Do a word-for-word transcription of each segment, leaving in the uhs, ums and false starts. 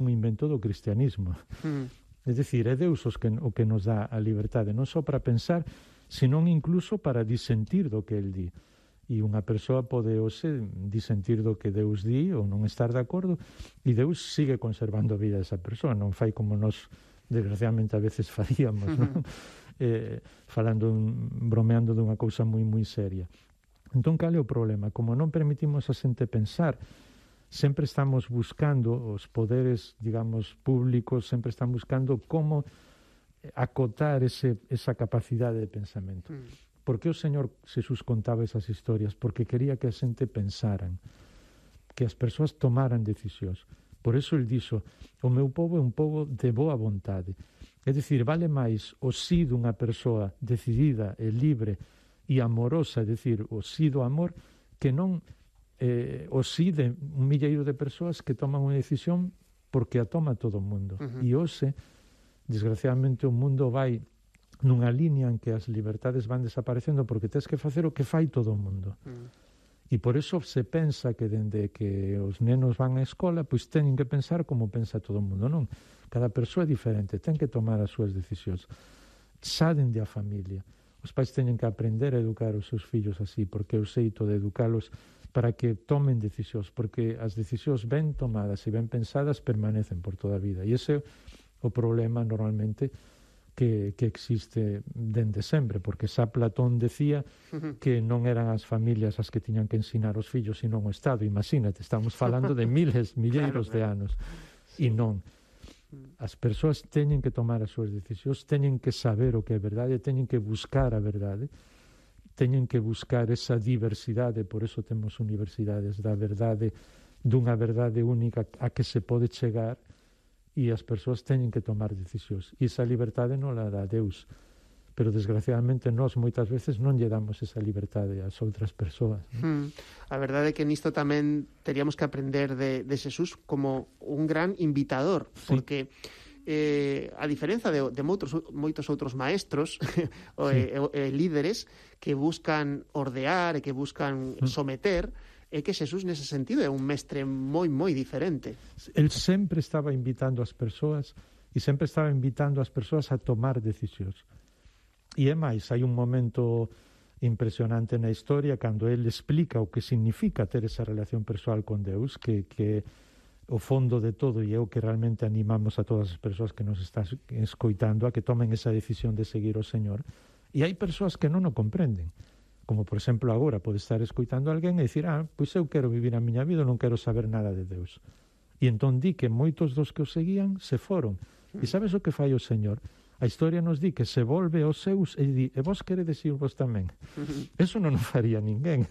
un invento do cristianismo. Mm. É dicir, é Deus os que, o que nos dá a liberdade, non só para pensar, senón incluso para disentir do que el di. E unha persoa pode hoxe disentir do que Deus di ou non estar de acordo, e Deus sigue conservando a vida desa persoa, non fai como nos, desgraciadamente, a veces faríamos, non? eh, falando, bromeando dunha cousa moi, moi seria. Entón, cal é o problema? Como non permitimos a xente pensar, sempre estamos buscando, os poderes, digamos, públicos, sempre están buscando como acotar ese, esa capacidade de pensamento. Mm. Por que o Señor Jesús contaba esas historias? Porque quería que a xente pensaran, que as persoas tomaran decisións. Por eso el dixo, o meu povo é un povo de boa vontade. É dicir, vale máis o sí dunha persoa decidida e libre e amorosa, é dicir, o sí do amor, que non eh, o sí de un milleiro de persoas que toman unha decisión porque a toma todo o mundo. Uh-huh. E hoxe, desgraciadamente, o mundo vai nunha línea en que as libertades van desaparecendo porque tens que facer o que fai todo o mundo. Uh-huh. E por eso se pensa que dende que os nenos van á escola, pois teñen que pensar como pensa todo o mundo, non? Cada persoa é diferente, ten que tomar as súas decisións. Xa dende a familia. Os pais teñen que aprender a educar os seus fillos así, porque é o xeito de educalos para que tomen decisións, porque as decisións ben tomadas e ben pensadas permanecen por toda a vida. E ese é o problema normalmente que, que existe dende sempre, porque xa Platón decía que non eran as familias as que tiñan que ensinar os fillos, sino o Estado. Imagínate, estamos falando de miles, milleiros de anos. E non. As persoas teñen que tomar as súas decisións, teñen que saber o que é verdade, teñen que buscar a verdade, teñen que buscar esa diversidade, por eso temos universidades da verdade, dunha verdade única a que se pode chegar, e as persoas teñen que tomar decisións. E esa liberdade non la dá Deus, pero desgraciadamente nós moitas veces non lle damos esa liberdade ás outras persoas. Hmm. A verdade é que nisto tamén teríamos que aprender de, de Xesús como un gran invitador, porque eh, a diferenza de, de moitos, moitos outros maestros o, sí. e, e líderes que buscan ordear e que buscan mm. someter, é que Xesús nese sentido é un mestre moi, moi diferente. El sempre estaba invitando as persoas e sempre estaba invitando as persoas a tomar decisións. E é máis, hai un momento impresionante na historia cando el explica o que significa ter esa relación persoal con Deus, que, que o fondo de todo, e é o que realmente animamos a todas as persoas que nos están escoitando a que tomen esa decisión de seguir o Señor. E hai persoas que non o comprenden, como por exemplo agora pode estar escoitando a alguén e dicir, ah, pois eu quero vivir a miña vida, non quero saber nada de Deus. E entón di que moitos dos que o seguían se foron. E sabes o que fai o Señor? A historia nos di que se volve aos seus e di, e vos queredes ir vos tamén. Eso non o faría ninguén.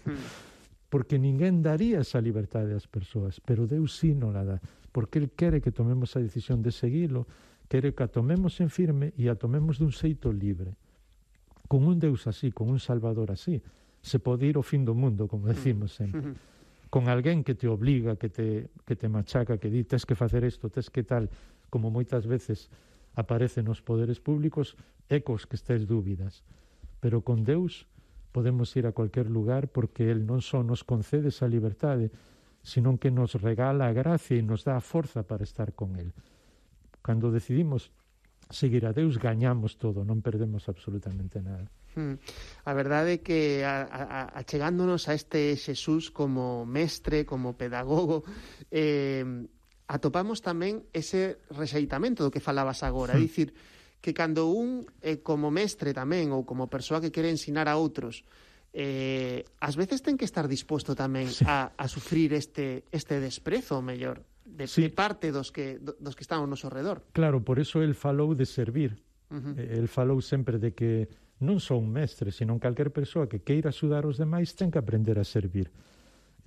Porque ninguén daría esa liberdade ás persoas, pero Deus sí non la dá, porque El quere que tomemos a decisión de seguilo, quere que a tomemos en firme e a tomemos dun xeito libre. Con un Deus así, con un Salvador así, se pode ir ao fin do mundo, como decimos sempre. Con alguén que te obliga, que te, que te machaca, que di, tes que facer isto, tes que tal, como moitas veces aparece nos poderes públicos, ecos que estés dúbidas. Pero con Deus podemos ir a cualquier lugar porque El non só nos concede esa liberdade, sino que nos regala a gracia e nos dá a forza para estar con El. Cando decidimos seguir a Deus, gañamos todo, non perdemos absolutamente nada. Hmm. A verdade é que a, a, achegándonos a este Xesús como mestre, como pedagogo, eh, atopamos tamén ese rexeitamento do que falabas agora, é dicir, que cando un, eh, como mestre tamén, ou como persoa que quere ensinar a outros, eh, ás veces ten que estar disposto tamén sí. a, a sufrir este, este desprezo, o mellor, de, sí. de parte dos que, dos que están ao noso redor. Claro, por eso el falou de servir. Uh-huh. El falou sempre de que non só un mestre, sino calquer persoa que queira axudar os demais ten que aprender a servir.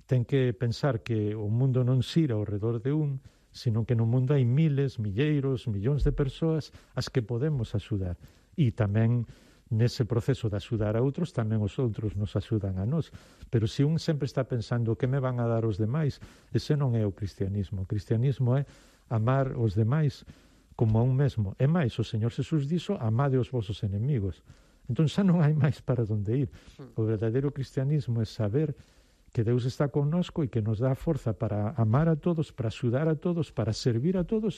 Ten que pensar que o mundo non xira ao redor de un, sino que no mundo hai miles, milleiros, millóns de persoas as que podemos axudar. E tamén nese proceso de axudar a outros, tamén os outros nos axudan a nós. Pero se un sempre está pensando que me van a dar os demais, ese non é o cristianismo. O cristianismo é amar os demais como a un mesmo. É máis, o Señor Xesús dixo, amade os vosos enemigos. Entón xa non hai máis para onde ir. O verdadeiro cristianismo é saber que Deus está connosco e que nos dá forza para amar a todos, para axudar a todos, para servir a todos